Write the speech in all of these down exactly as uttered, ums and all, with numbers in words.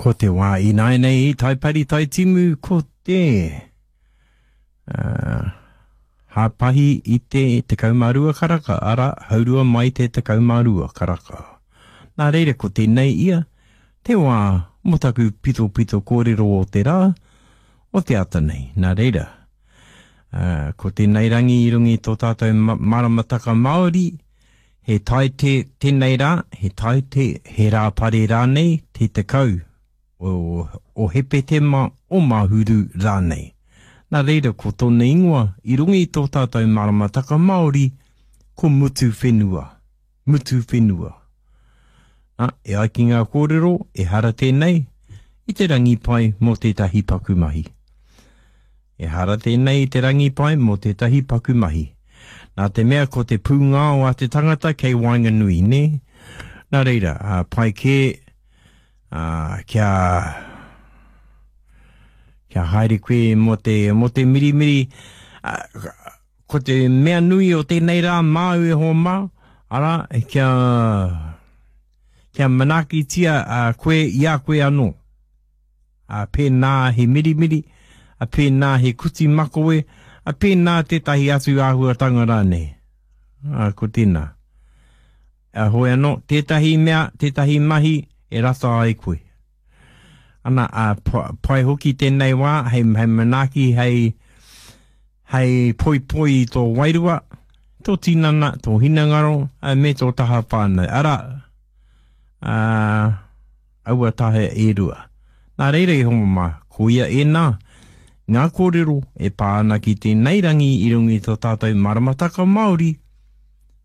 Ko te wā ināianei i Taipari Taitimu ko te uh, hāpahi i te tekau mā rua karaka, arā, haurua mai te tekau mā rua karaka. Nā reira ko tēnei ia, te wā mō taku pitopito kōrero o te rā, o te ata nei. Nā reira, uh, ko tēnei rangi i runga i tō tātou maramataka Māori, he taite tēnei rā, he taite, he rāpare rānei, te tekau o, o Hepetema, o Mahuru rānei. Nā reira ko tōna ingoa i runga i tō tātou maramataka Māori, ko Mutu Whenua. Mutu Whenua. Nā, e ai ki ngā kōrero, ehara tēnei i te rangi pai mō tētahi paku mahi. Ehara tēnei i te rangi pai mō tētahi paku mahi. Nā te mea ko te pūngao a te tangata kei waenganui, nē? Nā reira, ā, pai kē, ā, kia, kia haere koe mō te, mō te mirimiri, ā, ko te mea nui o tēnei rā māu e hoa mā, arā, kia, kia manaakitia ā, koe i a koe anō. Ā, pēnā he mirimiri, ā, pēnā he kuti makawe, ā, pēnā tētahi atu āhuatanga rānei. Ā, ko tēnā. Ā, hoi anō, tētahi mea, tētahi mahi e rata ai koe. Ana, ā, pai hoki tēnei wā, hei, hei manaaki, hei, hei poipoi i tō wairua, tō tinana, tō hinengaro, ā, me tō taha whānau. Arā, ā, aua taha e rua. Nā reira e hoa mā, koia ēnā, ngā kōrero e pā ana ki tēnei rangi i runga i tō tātou maramataka Māori,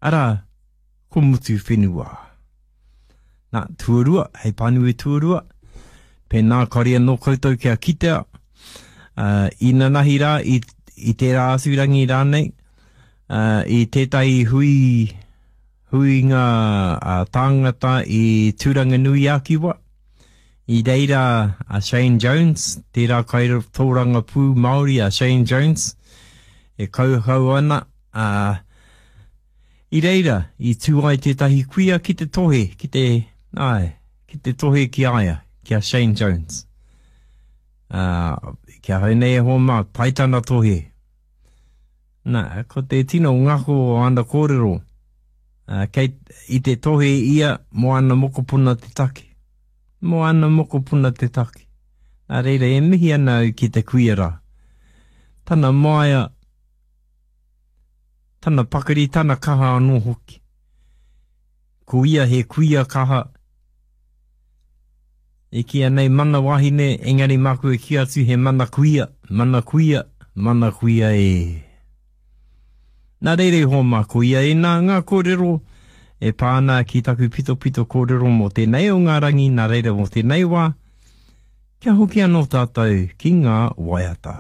arā, ko Mutu Whenua. Nā, tuarua, hei pānui tuarua, pēnā kāore anō koutou kia kitea, uh, inanahi rā, i, i tērā atu rangi rānei, uh, i tētahi hui, huinga uh, tāngata i Tūranganui-a-Kiwa, i reira a Shane Jones, tērā kaitōrangapū Māori a Shane Jones, e kauhau ana, uh, i reira, i tū ai tētahi kuia ki te tohe, ki te, ai, ki te tohe ki a ia, ki a Shane Jones. Uh, ki ahau nei e hoa mā, pai tana tohe. Nā, ko te tino ngako o ana kōrero, uh, kei, i te tohe ia mō ana mokopuna te take. Mō ana mokopuna te take. Nā reira, e mihi ana au ki te kuia rā. Tana māia, tana pakari, tana kaha anō hoki. Ko ia he kuia kaha, e kīia nei mana wahine, engari māku e kī atu he mana kuia, mana kuia, mana kuia e. Nā reira e hoa mā, ko ia ēnā ngā kōrero e pā ana ki taku pitopito kōrero mō tēnei o ngā rangi, nā reira mō tēnei wā, kia hoki anō tātou ki ngā waiata.